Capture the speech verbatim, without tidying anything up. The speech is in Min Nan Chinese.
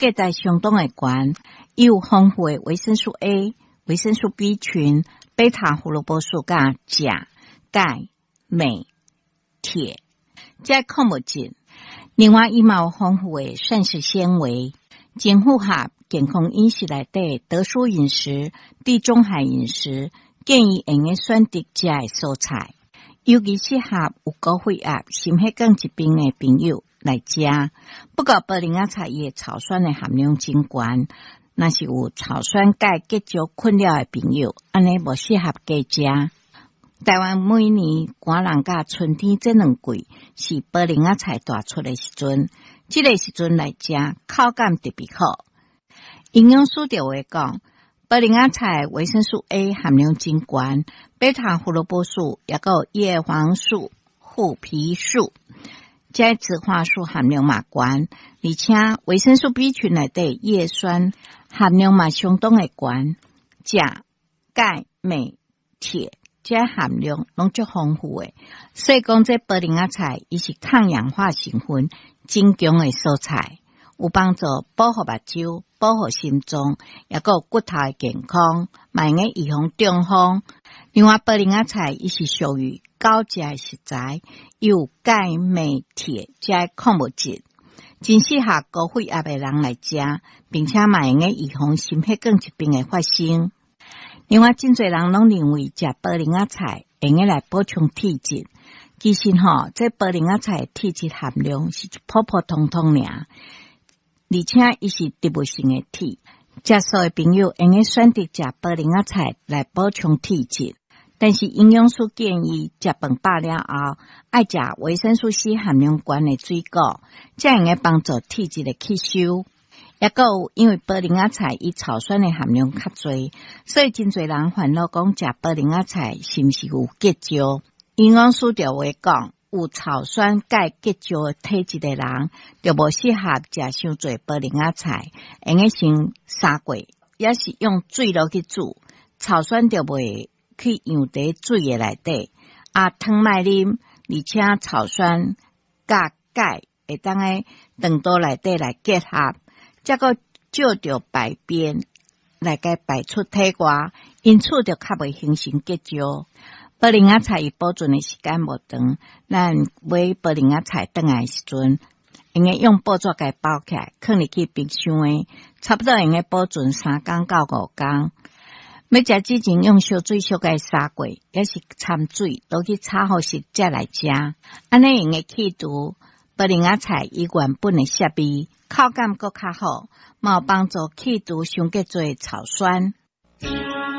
價值相當的懸，伊有豐富的維生素 A、維生素 B 群、貝塔胡蘿蔔素佮鉀、鈣、鎂、鐵，這礦物質。另外，伊嘛有豐富的膳食纖維，真符合健康飲食內底得舒飲食、地中海飲食，建議會用選擇食的蔬菜，尤其適合有高血壓、心血管疾病的朋友來食。不過，菠薐仔菜伊的草酸的含量真懸，若是有草酸鈣結石困擾的朋友，按呢無適合加食。台灣每年寒冷佮春天這兩季是菠薐仔菜大出的時陣，這個時陣來食，口感特別好。營養師就會講，菠薐仔菜維生素 A 含量真懸，貝塔胡蘿蔔素抑閣有葉黃素、槲皮素，這植化素含量嘛懸，而且維生素 B 群內底葉酸含量嘛相當的懸，鉀、鈣、鎂、鐵。這含量攏足豐富的，所以講這菠薐仔菜，伊是抗氧化成分真強的蔬菜，有幫助保護目睭、保護心臟，抑閣有骨頭的健康，嘛會用預防中風。另外，菠薐仔菜伊是屬於高鉀的食材，有鈣、鎂、鐵這礦物質，真適合高血壓的人來食，並且嘛會用預防心血管疾病的發生。另外，真濟人攏認為食菠薐仔菜會用來補充鐵質，其實吼，這菠薐仔菜鐵質含量是普普通通爾，而且伊是植物性的鐵。食素的朋友會用選擇食菠薐仔菜來補充鐵質，但是營養師建議食飯飽了後，愛食維生素 C 含量懸的水果，才會用幫助鐵質的吸收。抑閣有，因為菠薐仔菜伊草酸的含量較濟，所以真濟人煩惱講食菠薐仔菜是毋是有結石？營養師就會講，有草酸鈣結石體質的人，就無適合食傷濟菠薐仔菜，會用先砂過，抑是用水落去煮，草酸就袂去溶佇水的內底。啊，湯莫啉，而且草酸佮鈣會當佇腸道內底來結合。才閣藉著排便來共排出體外，因此就較袂形成結石。菠薐仔菜伊保存的時間無長，咱買菠薐仔菜轉來的時陣，會用用報紙共包起來，囥入去冰箱的，差不多會用保存三工到五工。欲食之前用燒水小共沙過，抑是摻水落去炒予熟才來食，按呢會用去除菠薐仔菜伊原本的澀味。口感閣較好，嘛有幫助去除傷過濟草酸。